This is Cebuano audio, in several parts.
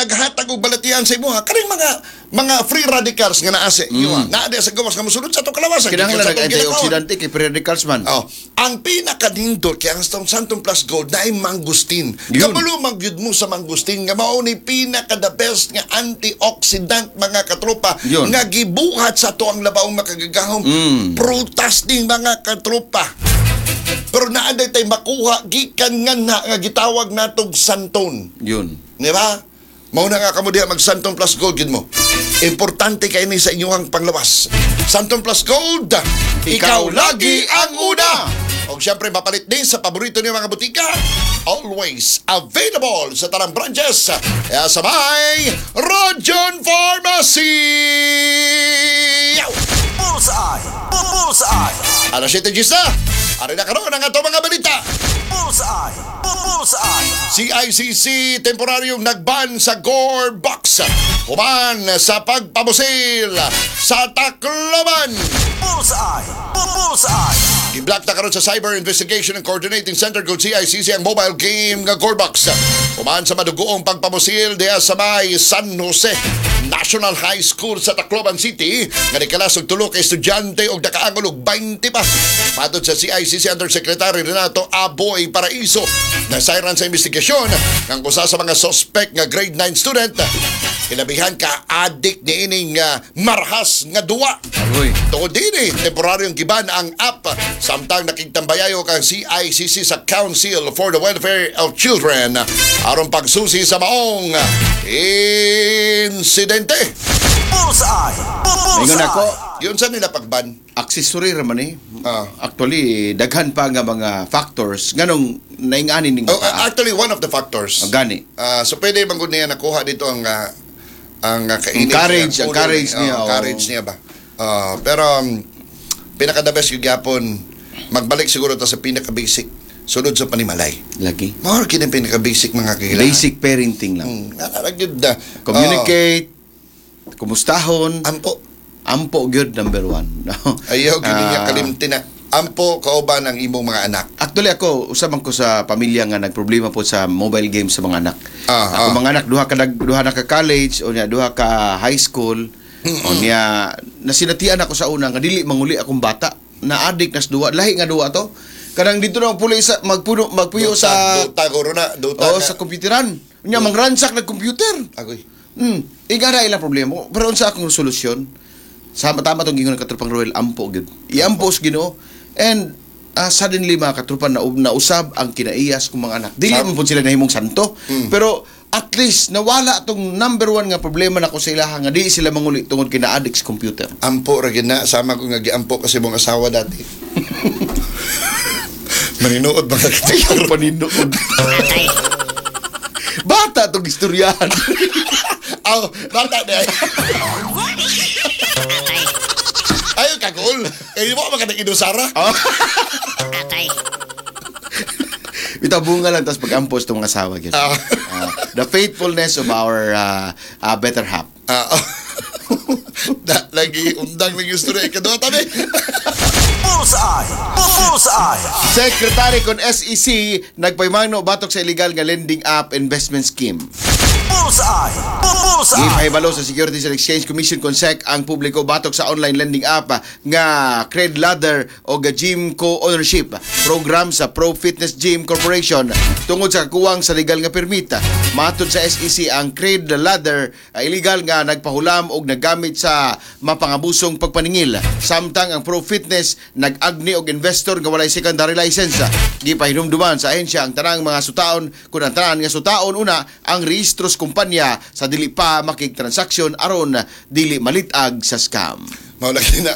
naghatag og balatian sa imuha, kaning mga free radicals nga naa sa imuha. Naa diha sa gawas nga mosulod sa atong kalawasan. Kinahanglan gikan sa atong ginakawan. nag-antioxidant kay free radicals man. Oh, ang pinakanindot kay ang Xanthone Plus Gold na ay mangustin. Yun. Kabalo man gyud mo sa mangustin nga mao ni pinaka the best nga antioxidant, mga katropa, nga gibuhat sa ato ang labaong makagagahom prutas ning mga katropa. Pero naa day tay makuha gikan nga na nga gitawag natog xanthone. Di ba? Mao na nga kamo diha mag Xanthone Plus Gold gid mo. Importante kay ni sa inyong panglawas. Xanthone Plus Gold, ikaw lagi ang una. Og syempre mapalit din sa paborito niyo mga butika. Always available sa tanang branches. Kaya sa may Rojon Pharmacy. Yow! Bullseye! Bullseye! Alas 7 na. Ari na karon ang ato mga balita. Bullseye! Bullseye! CICC temporaryong nagban sa Gore Box. Human sa pagpamusil sa Tacloban. Bullseye! Bullseye! Gi-block na karon sa Cyber Investigation and Coordinating Center kung CICC ang mobile game nga Gorebox. Human sa madugoong pagpamusil diha sa may San Jose National High School sa Tacloban City nga nikalas og tulo ka estudyante og nakaangol og 20 pa. Matod sa CICC Undersecretary Renato Aboy Paraiso, nasayran sa investigasyon ng usa sa mga suspect nga grade 9 student hilabihan ka addict niining marahas nga duwa. Agoy. Tungod dini, temporaryong giban ang app samtang nakigtambayayo kang CICC sa Council for the Welfare of Children aron pagsusi sa maong insidente. Bullseye! Ingon ako, Yun sa nila pagban. Accessory ra man eh. Ah. Actually, daghan pa nga mga factors nganong naingani ning Oh, bata. actually, one of the factors. Oh, gani. So pwede man gud niya nakuha dito ang kainit Ang courage, niya, ang ulo courage niya. niya, Oh, ang oh. courage niya ba. Pero pinaka the best yung gyapon magbalik siguro ta sa pinaka basic, sulod sa panimalay. Lagi. Mao ra kini pinaka basic, mga kagilaan. Basic parenting lang. Ana gyud na. Communicate, kumustahon, Oh, ampo. Ampo gyud number one. Ayaw gyud niya kalimti na. Ampo kauban ang imong mga anak. Actually ako, usa man ko sa pamilya nga nagproblema po sa mobile games sa mga anak. Ako mga anak duha ka duha na ka college o niya duha ka high school. O niya nasinatian ako sa una nga dili manguli akong bata. Na addict nas duha, lahi nga duha to. Kanang dito na puli sa magpuno magpuyo Dota, sa Dota guro na, Dota oh, na. sa computeran. Unya mangransak nag computer. Agoy. Ika na ilang problema. Pero unsa akong solusyon? Sama tama tong gingon ng katropang Roel, ampo gyud. Iampo sa Ginoo and suddenly, mga katropa, na nausab ang kinaiyas kong mga anak. Dili man pud sila nahimong santo, pero at least nawala tong number one nga problema nako sa ilaha nga di sila manguli tungod kay na-addict sa computer. Ampo ra gyud na, sama ko nga giampo kasi mong asawa dati. Maninuod mga Ayaw paninuod. Bata tong istoryahan. Aw, bata na. Ayaw kagol. Kaya mo magandang inusara. Oh. Bitaw bunga lang tas pag-ampos tong mga asawa gyud. The faithfulness of our better half. Ah. Na, lagi undang lagi istorya ikaduha tabi. Bullseye! Bullseye! Secretary kon SEC nagpaymangno batok sa illegal nga lending app investment scheme. Bullseye! Bullseye! Gipahibalo sa Securities and Exchange Commission kon SEC ang publiko batok sa online lending app nga Cred Ladder o ga Gym Co-ownership program sa Pro Fitness Gym Corporation tungod sa kakuwang sa legal nga permit. Matod sa SEC, ang Cred Ladder ay illegal nga nagpahulam og naggamit sa mapangabusong pagpaningil, samtang ang Pro Fitness nag-agni og investor nga walay secondary license. Gipahinumduman sa ahensya ang tanang mga sutaon kun ang tanan nga sutaon una ang rehistro sa kumpanya sa dili pa makigtransaksyon aron dili malitag sa scam. Mao lagi na.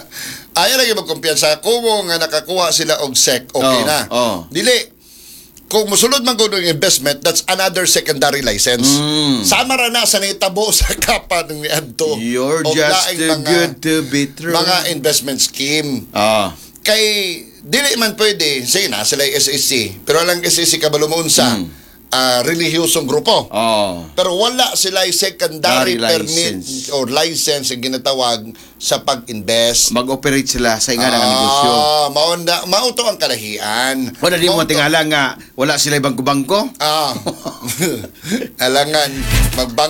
Ayaw lagi magkumpiyansa. Kumo nga nakakuha sila og SEC, okay na. Dili. Kung musulod man kuno yung investment, that's another secondary license. Sama ra na sa nitabo sa kapa ng niadto. You're Og just laing too good to be true. mga investment scheme. Kay dili man pwede, sige na sila yung SEC, pero alang SEC kabalo mo unsa relihiyosong grupo. Pero wala sila yung secondary Secondary permit license. or license ang ginatawag sa pag-invest. Mag-operate sila sa inga nga negosyo. Ah, mao na mao to ang kalahian. Wala di mo Mao to- tingala nga wala sila ibang bangko. Alangan magbang